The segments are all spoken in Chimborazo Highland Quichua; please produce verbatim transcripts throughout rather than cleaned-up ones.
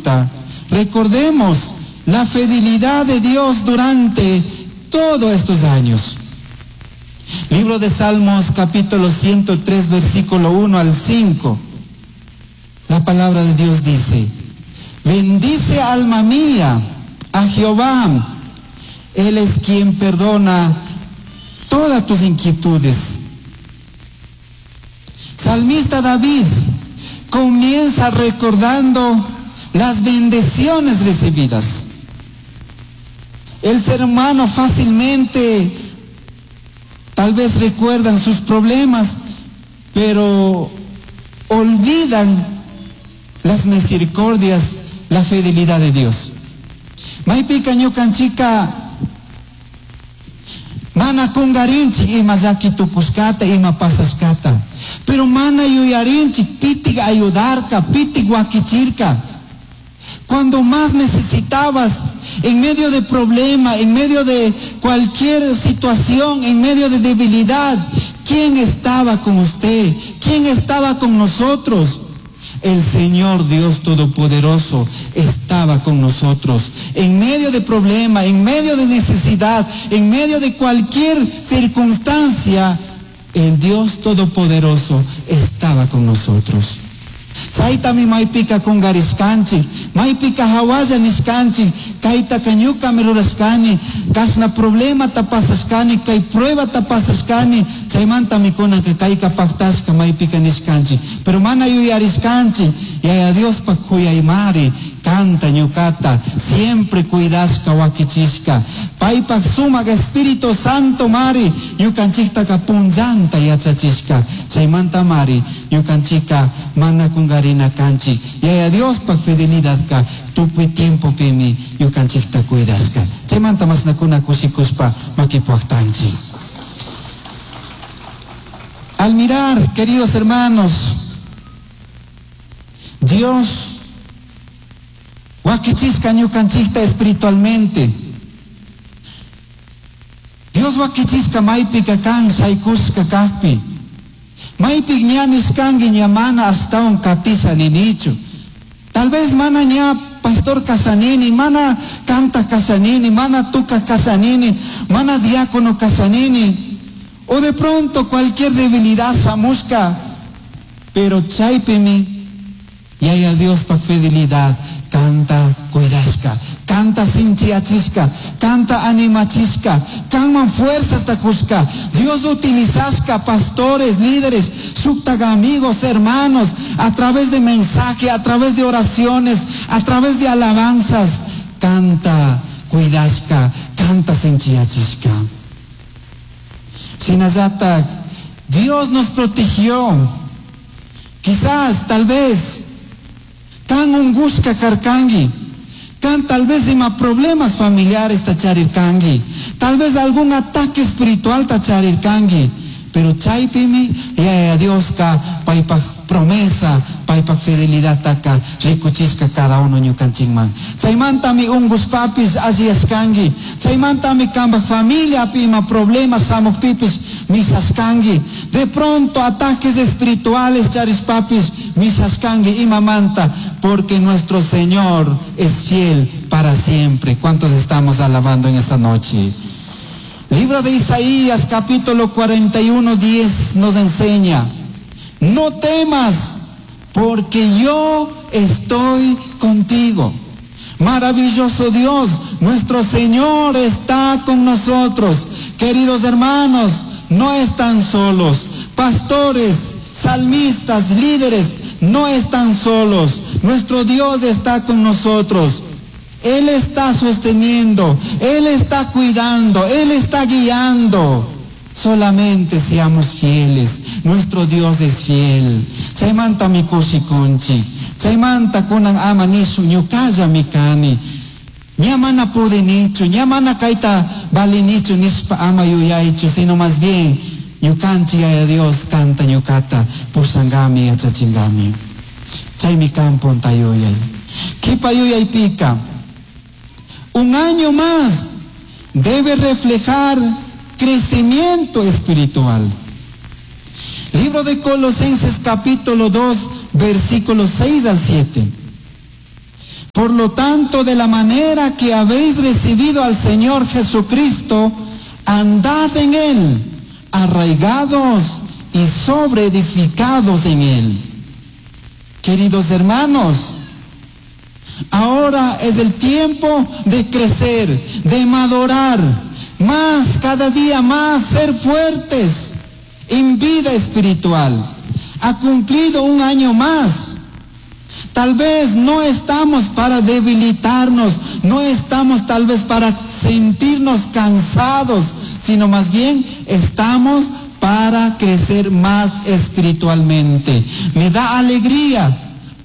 cuenta, recordemos la fidelidad de Dios durante todos estos años. Libro de Salmos, capítulo ciento tres, versículo uno al cinco. La palabra de Dios dice: bendice, alma mía, a Jehová. Él es quien perdona todas tus inquietudes. Salmista David comienza recordando las bendiciones recibidas. El ser humano fácilmente tal vez recuerdan sus problemas, pero olvidan las misericordias, la fidelidad de Dios. Maypika ñukanchika mana kungarinchik ima llaki tukushkata, ima pasashkata, pero mana yuyarinchik pitik ayudarka, pitik wakichirka. Cuando más necesitabas, en medio de problema, en medio de cualquier situación, en medio de debilidad, ¿quién estaba con usted? ¿Quién estaba con nosotros? El Señor Dios Todopoderoso estaba con nosotros. En medio de problema, en medio de necesidad, en medio de cualquier circunstancia, el Dios Todopoderoso estaba con nosotros. Chaytami maypika kungarishkanchik, maypika hawalla nishkanchik, kaytaka ñukami rurashkani, kashna problemata pasashkani, kay pruebata pasashkani, chaymantami kunanka kayka paktashka maypika nishkanchik. Pero mana yuyarishkanchik, Yaya Diospa kuyaymari, kanta ñukata, siempre cuidashka wakichishka. Paypak sumak Espíritu Santo mari, ñukanchiktaka punllanta yachachishka. Chaymanta mari, ñukanchika mana kungarina kanchik. Yaya Diospak fidelidadka tukuy tiempopimi ñukanchikta cuidashka. Chaymanta mashnakuna kushikushpa makipuaktanchik. Al mirar, queridos hermanos, Dios wakichishka ñukanchikta espiritualmente. Dios wakichishka maypika kan shaykushka kakpi. Maypik ña nishkanki ña mana ashtawan katisha ninichu. Tal vez mana ña pastor kashanini, mana canta kashanini, mana tuka kashanini, mana diácono kashanini. O de pronto cualquier debilidad shamushka. Pero chaypimi Yaya Diospa fidelidad canta cuidashka, canta sinchiachishka, canta animachishka, kanman fuerzas takushka. Dios utilizashka pastores, líderes, shuktaga amigos, hermanos, a través de mensaje, a través de oraciones, a través de alabanzas. Canta cuidashka, canta sinchiachishka. Shinallata, Dios nos protegió. Quizás, tal vez, kan ungushka karkangi, kan tal vez ima problemas familiares tacharirkangi, tal vez algún ataque espiritual tacharirkangi, pero chaypimi Yaya Dioska paypak promesa, paypak fidelidad taka rikuchishka cada uno ñukanchikman. Chaymantami ungushpapis alliyashkangi, chaymantami kanpak familiapi ima problemas shamuqpipis mishashkangi, de pronto ataques espirituales charishpapis mishashkangi imamanta, porque nuestro Señor es fiel para siempre. ¿Cuántos estamos alabando en esta noche? Libro de Isaías, capítulo cuarenta y uno, diez, nos enseña: no temas, porque yo estoy contigo. Maravilloso Dios, nuestro Señor está con nosotros. Queridos hermanos, no están solos. Pastores, salmistas, líderes, no están solos. Nuestro Dios está con nosotros. Él está sosteniendo, Él está cuidando, Él está guiando. Solamente seamos fieles. Nuestro Dios es fiel. Chaymanta mi kushikunchik. Chaymanta kunan ama nishu ñukalla mi kani. Ña mana pudinichu, ña mana kayta valinichu nishpa ama yuyaychu, sino más bien ñukanchik Yaya Dios kanta ñukata pushangami yachachingami. Chaymi kan punta yuyay. Kipa yuyaypika, un año más debe reflejar crecimiento espiritual. Libro de Colosenses capítulo dos, versículos seis al siete. Por lo tanto, de la manera que habéis recibido al Señor Jesucristo, andad en Él, arraigados y sobreedificados en Él. Queridos hermanos, ahora es el tiempo de crecer, de madurar, más cada día más ser fuertes en vida espiritual. Ha cumplido un año más. Tal vez no estamos para debilitarnos, no estamos tal vez para sentirnos cansados, sino más bien estamos para crecer más espiritualmente. Me da alegría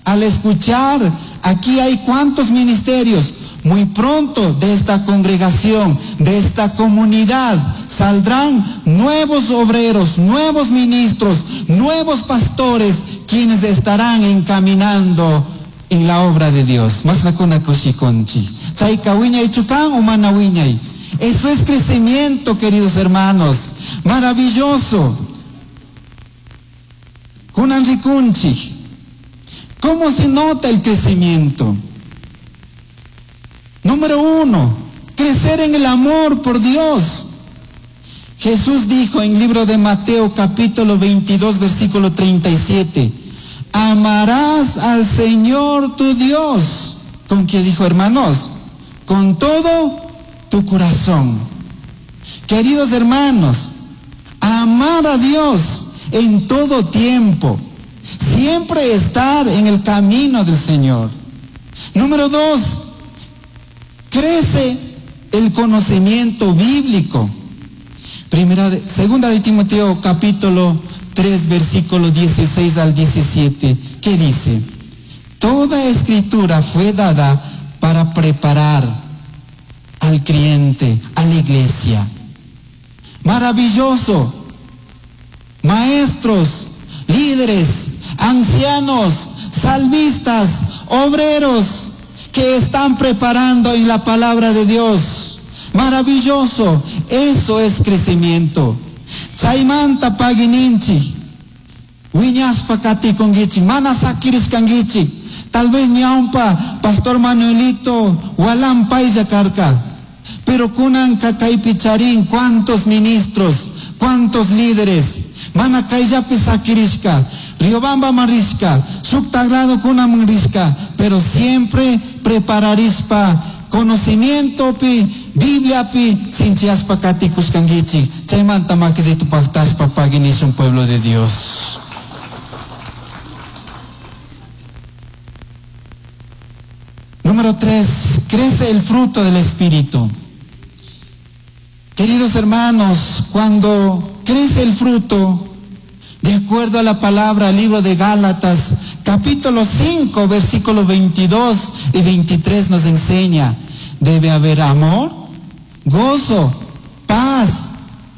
al escuchar, aquí hay cuántos ministerios. Muy pronto de esta congregación, de esta comunidad, saldrán nuevos obreros, nuevos ministros, nuevos pastores, quienes estarán encaminando en la obra de Dios. Eso es crecimiento, queridos hermanos. Maravilloso. ¿Cómo se nota el crecimiento? Número uno, crecer en el amor por Dios. Jesús dijo en el libro de Mateo capítulo veintidós, versículo treinta y siete, amarás al Señor tu Dios. ¿Con qué dijo, hermanos? Con todo tu corazón. Queridos hermanos, amar a Dios en todo tiempo. Siempre estar en el camino del Señor. Número dos, crece el conocimiento bíblico. Primera de, segunda de Timoteo capítulo tres, versículo dieciséis al diecisiete, ¿qué dice? Toda escritura fue dada para preparar al creyente, a la iglesia. Maravilloso. Maestros, líderes, ancianos, salmistas, obreros que están preparando en la palabra de Dios. Maravilloso, eso es crecimiento. Chaymanta pagininchi, wiñaspa katikunkichik, mana sakirishkankichik. Tal vez ñawpa Pastor Manuelito walampaylla karka, pero kunanka kaypi charin cuántos ministros, cuántos líderes, mana kayllapi sakirishka, Riobamba marishka, shuktagrado kunaman rishka, pero siempre prepararispa conocimiento pi, Biblia pi, sinchiaspa katikushkankichik. Chaymanta makidito pactaspa paginishun pueblo de Dios. Número tres, crece el fruto del Espíritu. Queridos hermanos, cuando crece el fruto, de acuerdo a la palabra, libro de Gálatas, capítulo cinco, versículo veintidós y veintitrés nos enseña, debe haber amor, gozo, paz,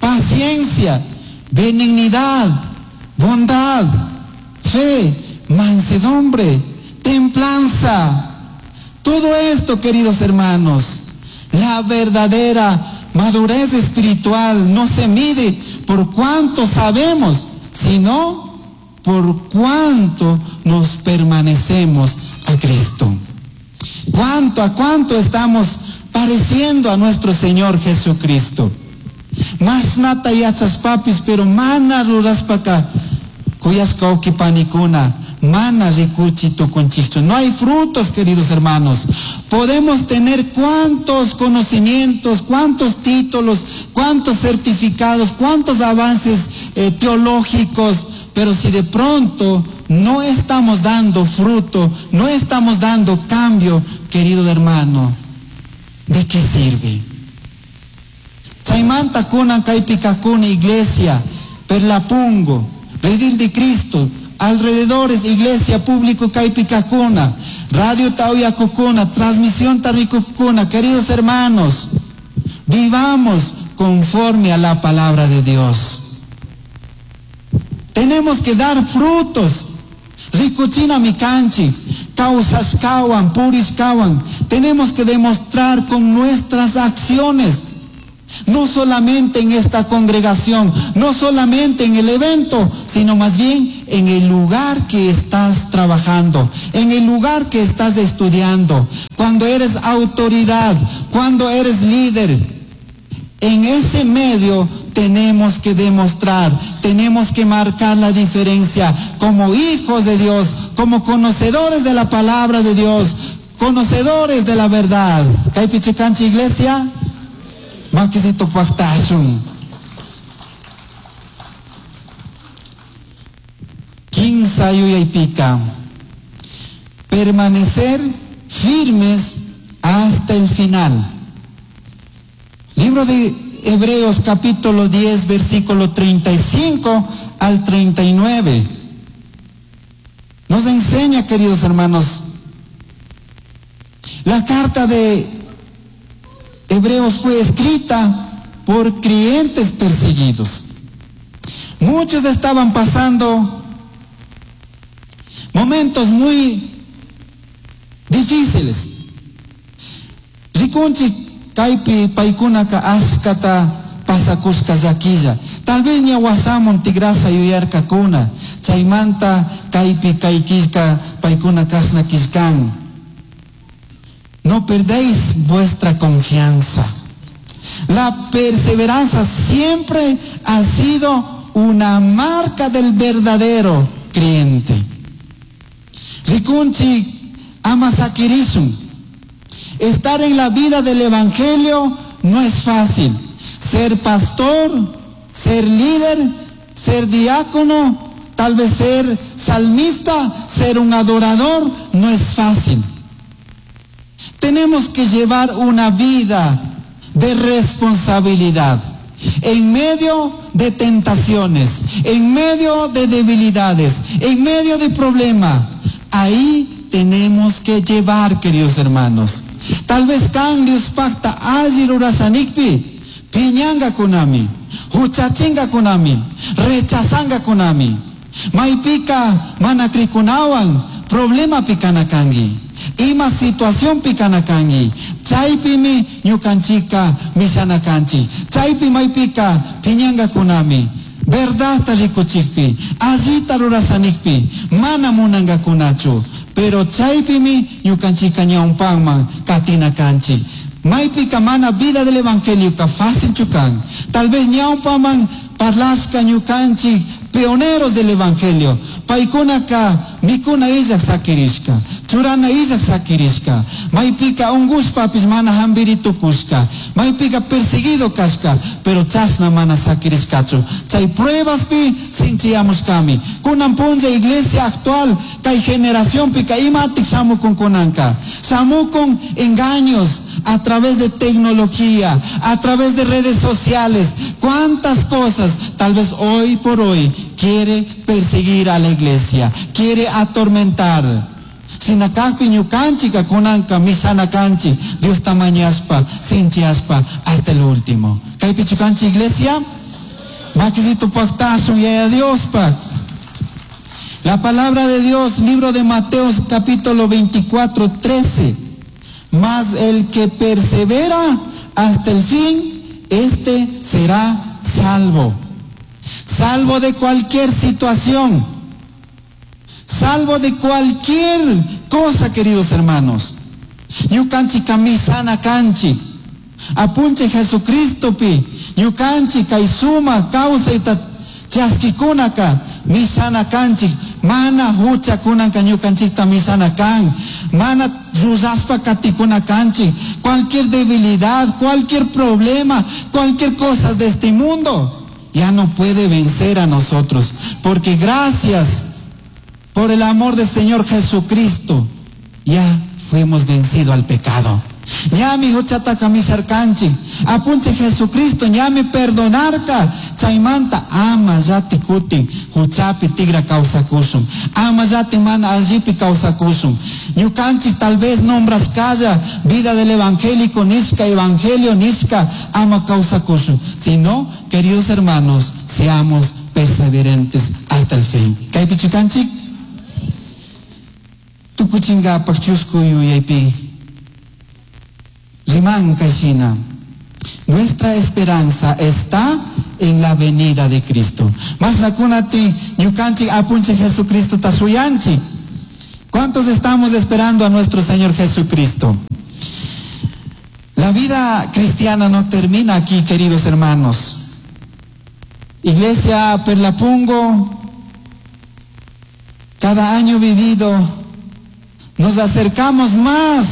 paciencia, benignidad, bondad, fe, mansedumbre, templanza. Todo esto, queridos hermanos, la verdadera madurez espiritual no se mide por cuánto sabemos, sino por cuánto nos permanecemos a Cristo. ¿Cuánto a cuánto estamos pareciendo a nuestro Señor Jesucristo? Mas nata yachas papis, pero mana ruraspaka kuyashka ukipanikuna, mana rikuchi tukunchichu. No hay frutos, queridos hermanos. Podemos tener cuántos conocimientos, cuántos títulos, cuántos certificados, cuántos avances eh, teológicos, pero si de pronto no estamos dando fruto, no estamos dando cambio, querido hermano, ¿de qué sirve? Chaymanta kunan kaypikakuna iglesia, Perlapungo, Redil de Cristo, alrededores iglesia público kaypikakuna, radio Tauyakukuna, transmisión Tarricukuna. Queridos hermanos, vivamos conforme a la palabra de Dios. Tenemos que dar frutos. Rikuchina mikanchi, causashkawan, purishkawan. Tenemos que demostrar con nuestras acciones. No solamente en esta congregación, no solamente en el evento, sino más bien en el lugar que estás trabajando, en el lugar que estás estudiando, cuando eres autoridad, cuando eres líder. En ese medio tenemos que demostrar, tenemos que marcar la diferencia como hijos de Dios, como conocedores de la palabra de Dios, conocedores de la verdad. Kaypichu kanchik iglesia? Makisito paktashun. Kimsa yuyaypika. Permanecer firmes hasta el final. Libro de Hebreos capítulo diez, versículo treinta y cinco al treinta y nueve. Nos enseña, queridos hermanos, la carta de Hebreos fue escrita por creyentes perseguidos. Muchos estaban pasando momentos muy difíciles. Rikunchik kaypi paykunaka ashkata pasakushka llaquilla. Tal vez ña wasamun tigrasa yuyarkakuna. Chaymanta kaypi kay killka paykuna kashna killkan. No perdéis vuestra confianza. La perseverancia siempre ha sido una marca del verdadero creyente. Rikunchik ama sakirishun. Estar en la vida del Evangelio no es fácil. Ser pastor, ser líder, ser diácono, tal vez ser salmista, ser un adorador, no es fácil. Tenemos que llevar una vida de responsabilidad en medio de tentaciones, en medio de debilidades, en medio de problemas. Ahí tenemos que llevar, queridos hermanos. Tal vez kan Dios pacta alli rurasanikpi, piñanga kunami, huchachinga kunami, rechazanga kunami, maypika manakrikunawan, problema pikanakangi, ima situación pikanakangi, chaypimi ñukanchika mishanakanchi, chaypi maypika piñanga kunami, verdadta rikuchikpi, allita rurasanikpi, mana munangakunachu. Pero chaypimi ñukanchika ñawpanman katina kanchi. Maypika mana vida del evangelio ka fácil chukan. Tal vez ñawpaman parlashka ñukanchik pioneros del evangelio. Paykunaka mikuna illak sakirishka, churana illak sakirishka. Maypika ungushpapis mana hambiri tukushka. Maypika perseguido kashka, pero chashna mana sakirishkachu. Chay pruebaspi sinchiyamushkami. Kunan punlla iglesia actual, kay generación pika imatik shamukun kunanka. Shamukun engaños a través de tecnología, a través de redes sociales. Cuántas cosas tal vez hoy por hoy quiere perseguir a la iglesia, quiere atormentar. Sinakakpi ñukanchika kunanka misanakanchi, Dios tamañaspa, sinchiaspa hasta el último. Kaypi chukanchi iglesia, makisito paktasun yaya Diospa. La palabra de Dios, libro de Mateo capítulo veinticuatro, trece. Mas el que persevera hasta el fin, este será salvo. Salvo de cualquier situación, salvo de cualquier cosa, queridos hermanos. Ñukanchi kamisana kanchi, apunche Jesucristo pi, ñukanchi kaisuma kawsayta chaskikunaka misana kanchi, mana hucha kunanka ñukanchikta misana kan, mana ruraspa katikuna kanchi, cualquier debilidad, cualquier problema, cualquier cosa de este mundo ya no puede vencer a nosotros, porque gracias por el amor del Señor Jesucristo, ya fuimos vencidos al pecado. Ñami huchataka misharkanchi, apunche Jesucristo, ñami perdonarka, chaymanta ama yati kutin, huchapi tigra kawsakushun, ama yati mana allipi kawsakushun. Ñukanchik tal vez nombras kalla, vida del evangélico nishka, evangelio nishka, ama kawsakushun. Sino, queridos hermanos, seamos perseverantes hasta el fin. Kaypi chukanchik? Tukuchingapak chusku yuyaypi. Riman kashina. Nuestra esperanza está en la venida de Cristo. Mashnakunati ñukanchik apunchik Jesucristo tashuyanchik. ¿Cuántos estamos esperando a nuestro Señor Jesucristo? La vida cristiana no termina aquí, queridos hermanos. Iglesia Perlapungo, cada año vivido nos acercamos más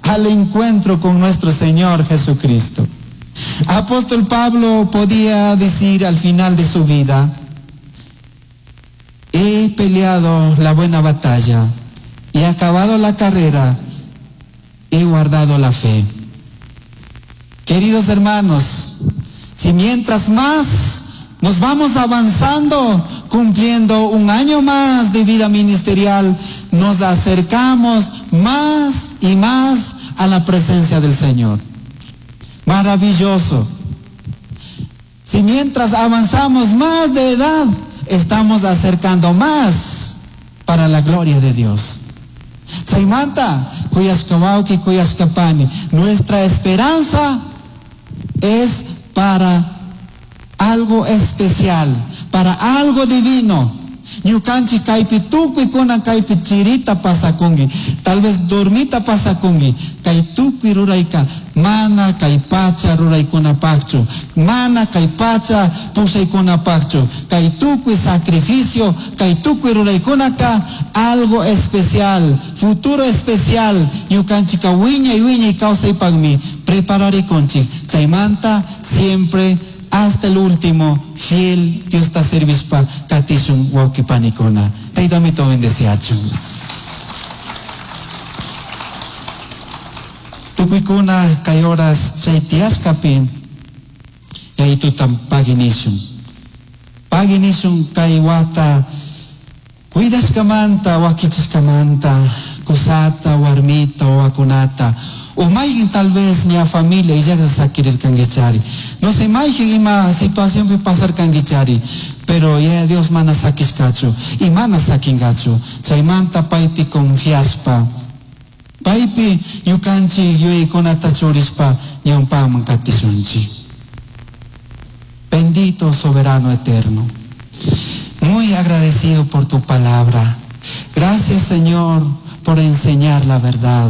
al encuentro con nuestro Señor Jesucristo. Apóstol Pablo podía decir al final de su vida: he peleado la buena batalla, he acabado la carrera, he guardado la fe. Queridos hermanos, si mientras más nos vamos avanzando, cumpliendo un año más de vida ministerial, nos acercamos más y más a la presencia del Señor. Maravilloso. Si mientras avanzamos más de edad, estamos acercando más para la gloria de Dios. Chaymanta, kuyashkawauki, kuyashkapani, nuestra esperanza es para algo especial, para algo divino. Ñukanchi kaypi tukuy kunan kaypi chirita pasakunki, tal vez dormita pasakunki, kay tukuy rurayka mana kay pacha ruraykunapaqchu, mana kay pacha pushaykunapaqchu, kay tukuy sacrificio, kay tukuy ruraykunaka algo especial, futuro especial. Ñukanchika wiñay wiñay kawsaypaqmi prepararikunchik. Chaymanta siempre hasta el último, fiel Dios ta servispa katishun wawqipanikuna. Taytamito bendeciachun. Tukuykuna kay horas chay tiyashkapi yayitutan paginishun. Paginishun kay wata cuidashkamanta, wakichishkamanta, kusata, warmita, wawakunata. O mayqin tal vez ña familia y ya sakirirkankichari. No sé mayqin ima situación pasarkankichari, pero ya Dios mana sakishkachu y mana sakingachu. Chaymanta paypi confiaspa, paypi ñukanchik yuyaykunata churishpa ñawpaman katishunchik. Bendito soberano eterno, muy agradecido por tu palabra. Gracias, Señor, por enseñar la verdad.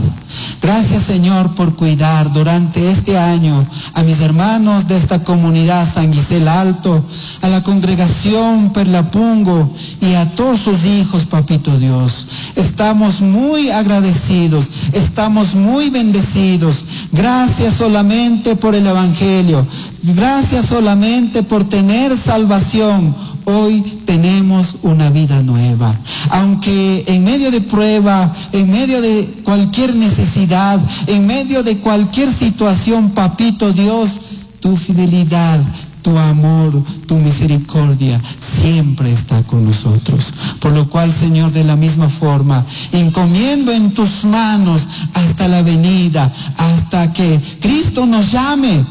Gracias, Señor, por cuidar durante este año a mis hermanos de esta comunidad San Gisel Alto, a la congregación Perlapungo y a todos sus hijos, Papito Dios. Estamos muy agradecidos, estamos muy bendecidos. Gracias solamente por el Evangelio. Gracias solamente por tener salvación. Hoy tenemos una vida nueva. Aunque en medio de prueba, en medio de cualquier necesidad, en medio de cualquier situación, Papito Dios, tu fidelidad, tu amor, tu misericordia siempre está con nosotros. Por lo cual, Señor, de la misma forma, encomiendo en tus manos hasta la venida, hasta que Cristo nos llame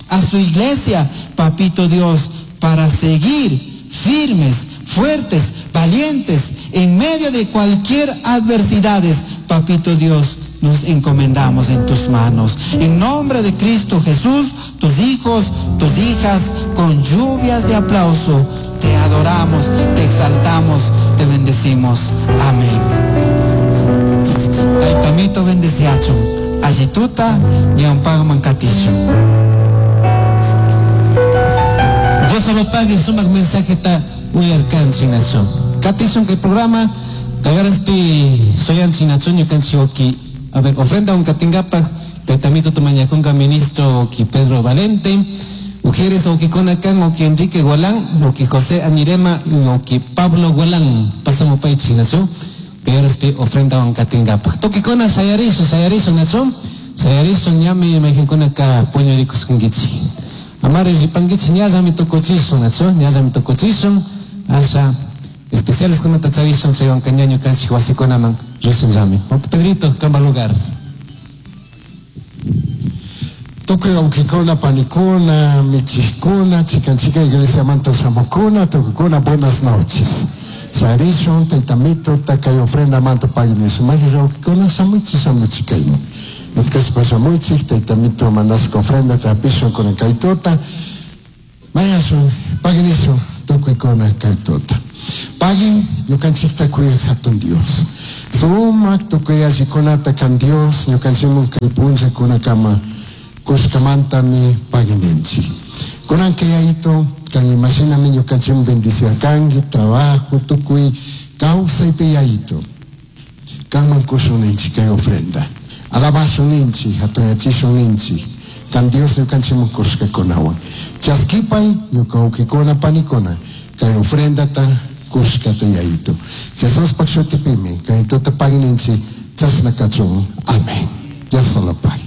a su iglesia, Papito Dios, para seguir firmes, fuertes, valientes, en medio de cualquier adversidades, Papito Dios, nos encomendamos en tus manos. En nombre de Cristo Jesús, tus hijos, tus hijas, con lluvias de aplauso, te adoramos, te exaltamos, te bendecimos. Amén. Taitamito bendeciacho, allituta, ñampag mancatisho. Dios solo pague sumak mensaje ta uyarkan chinacho. Katishon que programa kayaraspi soyan chinacho ñukanchi oki. A ver, ofrenda un katingapaj taitamito tumañakunga ministro oki Pedro Valente, mujeres oki Konakan, oki Enrique Gualán, oki José Anirema, oki Pablo Gualán. Pasamos pay chinacho. Kayaraspi ofrenda un katingapaj. Toki kona sayarisho, sayarisho nacho. Sayarisho ñami mejinkuna ka puño rikus kungichi. Amare ripangichi ñallami tukuchishun, nacho, ñallami tukuchishun, asha especiales kuna tacharishun, chaywan kañaño kanchik wasikunaman rishun llami. Pedrito, kamba lugar. Tukuy wawqikuna, panikuna, michikuna, chikan chikan iglesia manta shamukuna, tukukuna, buenas noches. Sarishun, taytamito, takay ofrenda manta paginishun. Maji wawqikuna, shamuchi, shamuchi kayman. Nutkashpa shamuchik, taytamito mandashka ofrenda tapishun kunan kaytuta. Mañashun, paginishun, tukuykuna kay tuta. Pagin ñukanchikta kuyaq hatun Dios. Sumak tukuy allikunata kan Dios ñukanchikman kay punllakunakama kushkamantami pagininchik. Kunan kay yayito kan imashinami ñukanchikman bendiciarkanki trabajo tukuy kawsaypi yayito. Kanman kushun ninchik kay ofrenda. Alabashun ninchik, hatuyachishun ninchik. Kan Dios ñukanchikman kushkakunawan. Chaskipay ñuka wawkikuna panikuna kay ofrendata kushkata yayito. Jesuspaq shutipimi kay tuta pagininchik chashna kachun. Amén. Dios solo pague.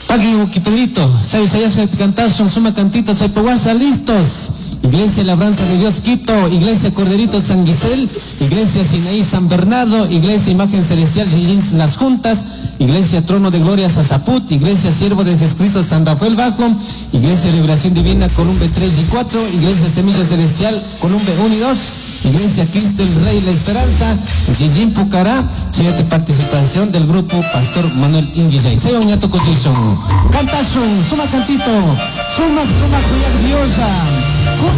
Pagui Pedrito, say sayasqa cantasun, suma cantito, saypahuasa, listos. Iglesia Labranza de Dios Quito, Iglesia Corderito San Guisel, Iglesia Sinaí San Bernardo, Iglesia Imagen Celestial Sillín Las Juntas, Iglesia Trono de Gloria Sazaput, Iglesia Siervo de Jesucristo San Rafael Bajo, Iglesia Revelación Divina Columbe tres y cuatro, Iglesia Semilla Celestial Columbe uno y dos, Iglesia Cristo el Rey La Esperanza, Yijin Pucará, siguiente participación del grupo Pastor Manuel Inguillay. Seyon Ñato Cosison. Cantasun, suma cantito, suma, suma, cuya diosa.